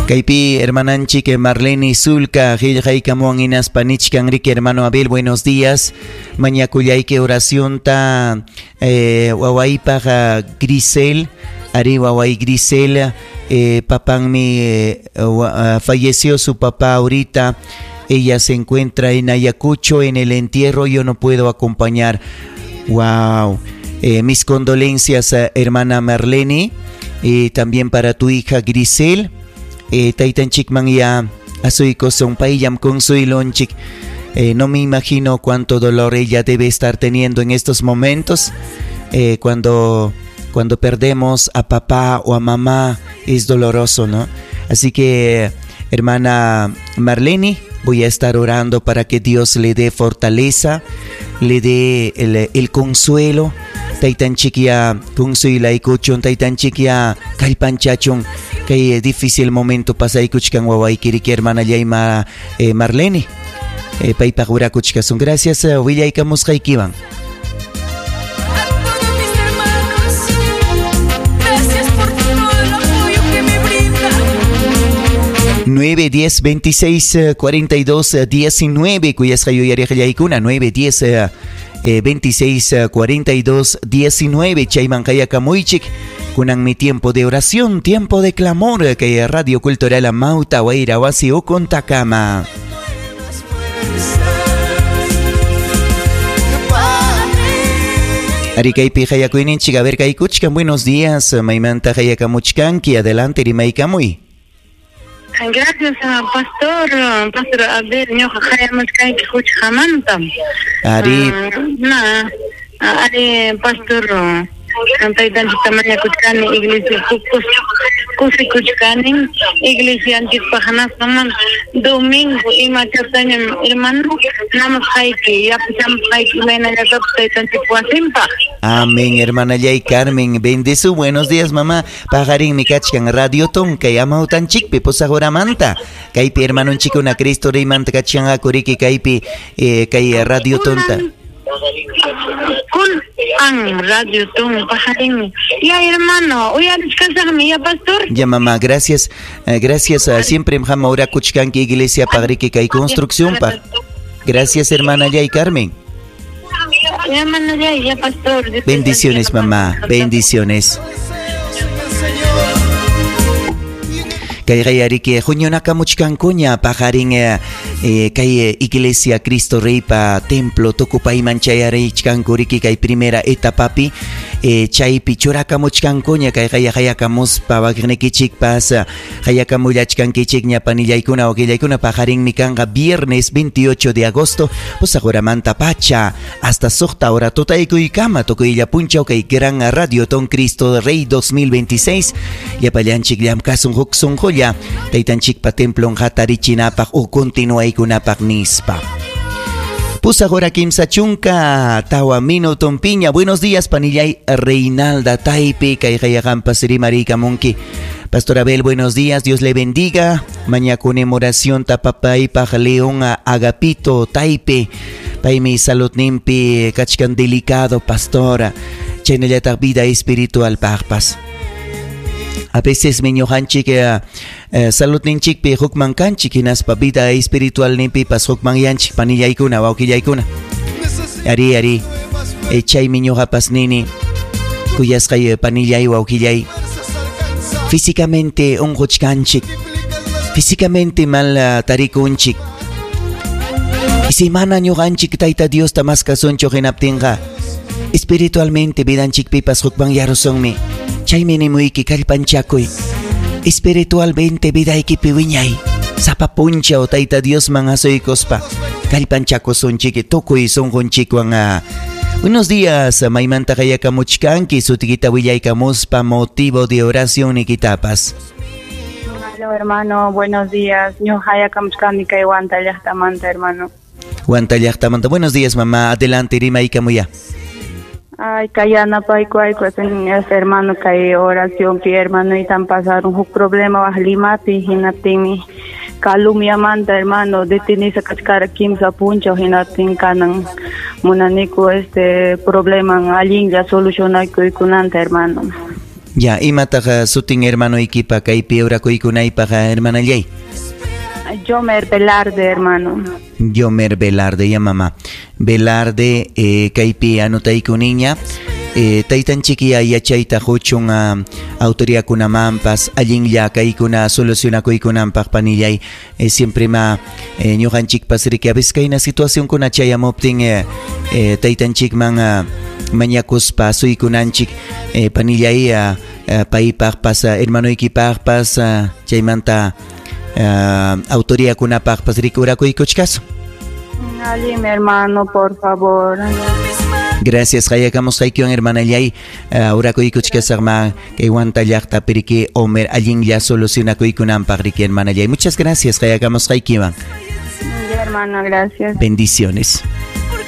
Kaypi hermananchik Marlene Zulka qillqaykamuwan hinaspa nichkan riki hermano Abel, buenos días. Mañakullayki oracionta wawaypaq Grisel, ari waway Grisel, papanmi falleció su papá ahorita. Ella se encuentra en Ayacucho en el entierro, yo no puedo acompañar. Wow. Mis condolencias, hermana Marlene, también para tu hija Grisel. Taytanchikman ya asuykusun payllam consuelonchik. No me imagino cuánto dolor ella debe estar teniendo en estos momentos. Cuando perdemos a papá o a mamá es doloroso, ¿no? Así que, hermana Marlene, voy a estar orando para que Dios le dé fortaleza, le dé el consuelo. Taytanchikya consuelaykuchun, taytanchikya kallpanchachun. Kay difícil momento pasaykuchkan wawaykiriki hermana Yayma Marlene. Paypaq urakuchkasun. Gracias, willaykamusqaykiwan. A todos mis hermanos, gracias por todo el apoyo que me brindan. 9, 10, 26, 42, 19. Kuyasqa yuyariqllaykuna 9, 10, 26, 42, 19. Chayman qayakamuychik. Kunan mi tiempo de oración, tiempo de clamor, que Radio Cultural Amauta, Wayra Wasi Ukuntakama. Arikaypi hayakuyninchik, a ver kaykuchkan, buenos días, maymanta hayakamuchkanki, adelante rimaykamuy. Gracias, pastor, Pastor Abel, ñuqa hayamuchkanki huchqamanta. Ari. Na, ari pastor, taytanchikta mañakuchkani iglesia kusikuchkani iglesianchikpaq hinaspaman domingo imachatañam hermano namasqayki yapachamusqayki imaynallatapas taytanchik wasinpaq. Amén, hermana Yay Carmen, bendizu, buenos días mamá. Paqarinmi kachkan Radio Tonka amawtanchikpi pusajoramanta. Kaypi hermanonchikuna Cristo Reymanta kachkanqaku riki kaypi kay Radio Tonta. Kun an Radio Ton pajarinmi. Ya hermano, uyarichkasaqmi ya pastor. Ya mamá, gracias. Gracias, siempre mjama urakuchkanki iglesia pagriki kay construcción pa. Gracias hermana Yay Carmen. Ya hermana Yay, ya pastor. Bendiciones mamá, bendiciones. Kay yariki huñunakamuchkankuña paqarin kay iglesia Cristo Reypa templo tukupayman chayarichkanku riki kay primera etapapi chaypi churakamuchkankuña kay hayakamuspa wakiqnikichikpas hayakamullachkankichikña panillaykuna wakillaykuna paqarinmi kanqa viernes 28 de agosto pusaq horamanta pacha hasta suqta hora tutaykuykama tukuylla punchaw kay gran Radio Ton Cristo Rey 2026 llapallanchik llamkasun huk sunqulla taytanchikpa templon hatarichinapaq u continuaykunapaq nispa. Pusaq hora kimsa chunka tawa minuton piña. Buenos días panillay Reinalda Taipe kay hayaqanpas rimariykamunki. Pastor Abel, buenos días, Dios le bendiga. Mañakunem oración tapapaypaq León Agapito Taipe. Paymi saludninpi kachkan delicado pastora. Chaynallataq vida espiritual paqpas. A veces miñuqanchik saludninchikpi hukman kanchik hinaspa vida espiritual ninpipas hukman yanchik panillaykuna wawqillaykuna. Ari ari chay miñuqapas nini kuyasqay panillay wawqillay físicamente unquchkanchik, físicamente mal tarikunchik. Y si mana ñuqanchik Tayta Diosta maskasunchu hinaptinqa espiritualmente vidanchikpipas hukman yarusunmi. Chaymi nimuyki kallpanchakuy espiritualmente vidaykipi wiñay sapa punchaw Tayta Diosman asuykuspa kallpanchakusunchik tukuy sunqunchikwan. Buenos días, maymanta hayakamuchkanki sutikita willaykamuspa motivo de oración nikitapas. Hola hermano, buenos días. Ñuqa hayakamuchkani kay Huanta llaqtamanta hermano. Huanta llaqtamanta. Buenos días mamá, adelante rimaykamuya. Ay, kayanapayku ayku hermano kay oración pi hermano y tan pasaron un problema waj Limapi hinaptinmi calumniamanta hermano detenisa kachkara kimsa punchaw hinaptin kanan munaniku este problema allinlla solucionaykuykunanta hermano. Ya, imataq sutin hermanoykipa kaypi orakuykunaypaq, hermanallay? Yomer Velarde, hermano. Yomer Velarde, ya mamá. Velarde, kaypi anotayku niña. Taytanchik yachayta quchun autoridadkunamanpas allinlla kaykuna solucionakuykunanpaq, panillay. Siempre ma ñuqanchikpas riki a veces kayna situacionkuna chayamuptin taytanchikman mañakuspa asuykunanchik, panillay, paypaqpas, hermanoykipaqpas, chaymanta autoridadkunapaqpas riki orakuykuchkasun. Alin, hermano, por favor. Gracias, qayakamusqaykiwan, hermanallay. Orakuykuchkasaqma kay Huanta llaqtapi riki Homer allinlla solucionakuykunanpaq riki, hermanallay. Muchas gracias qayakamusqaykiwan. Hermano, gracias. Bendiciones.